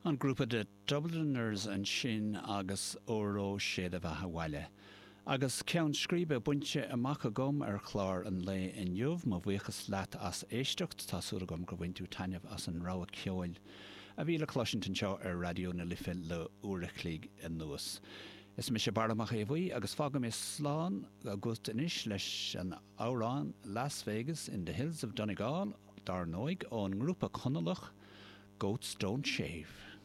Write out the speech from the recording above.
An grúpa The Dubliners ansin agus Óró Sé do Bheatha 'Bhaile. Agus ceann scríbe bainte amach agam ar chlár an lae inniu, mo bhuíochas leat as éisteacht, tá súil agam gur bhain tú taitneamh as an rogha ceoil a bhí le cloisint anseo ar Raidió na Life le uair a chloig anuas. Is mise Barra Mac Aodha Bhuí agus fágfaidh mé slán agat anois leis an amhrán Las Vegas in the Hills of Donegal, dar ndóigh, ón ngrúpa Conallach Goats Don't Shave.